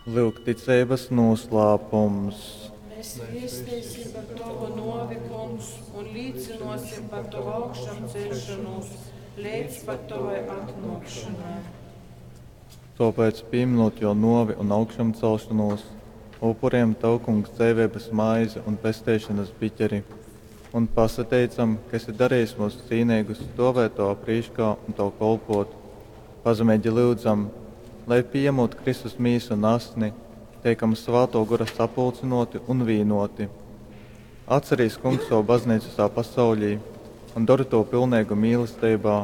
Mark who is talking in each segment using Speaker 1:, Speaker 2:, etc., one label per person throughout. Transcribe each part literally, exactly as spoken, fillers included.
Speaker 1: Lyuk ticeibas noslēpums.
Speaker 2: Mēs viesteisim par Tavu novi, Kungs, un līcinosim par Tavu augšām celšanos līdz pat Tavai atnākšanai.
Speaker 1: Tāpēc, pieminot jo novi un augšām celšanos, upuriem Tev, Kungs, dzīvības maizi un pesteišanas biķeri, un pasateicam, ka esi darījis mūs cīnīgus stāvēt Tavā prīškā un Tev kolpot. Pazemīgi lūdzam, lai pieņemot Kristus mīsu un asni, tiekam Svētō Gora sapulcinoti un vīnoti. Atcerīs, Kungs, savu baznīcu visā pasaulī un dori to pilnīgu mīlestībā,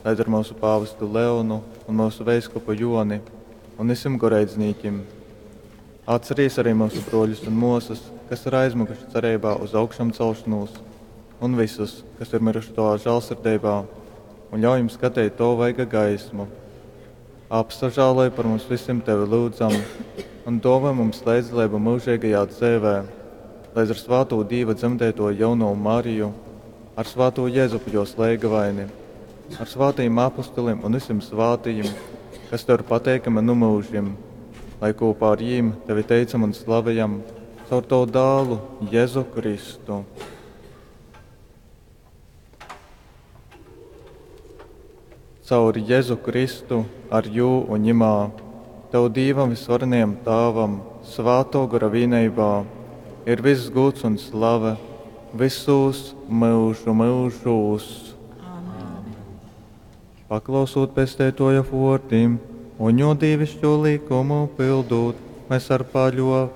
Speaker 1: lai ar mūsu pāvestu Leonu un mūsu veiskupu Joni un visiem goreidznīkim. Atcerīs arī mūsu broļus un mūsas, kas ir aizmukuši cerībā uz augšām celšanos, un visus, kas ir miruši Tavā žēlsirdībā, un ļauj jums skatīt Tavu vaiga gaismu. Apsažāloj par mums visiem Tevi lūdzam, un dāvā mums līdzdalību mūžīgajā dzīvē, lai ar svāto Dīva dzemdēto jauno Mariju, ar svāto Jēzupu jos leigavaini, ar svātajiem apostoliem un visiem svātajiem, kas Tev ir pateikami nu mūžiem, lai kopā ar jīm Tevi teicam un slavējam caur Tavu dālu Jēzu Kristu. Caur Jēzu Kristu, ar jū un ņemā, Tev Dīvam visvarenajam Tāvam, Svāto Gora vienībā, ir viss gods un slave visos mūžu mūžos.
Speaker 2: Amen.
Speaker 1: Paklausot pestētoja vārdiem un jo dievišķo likumu pildot, mēs ar paļo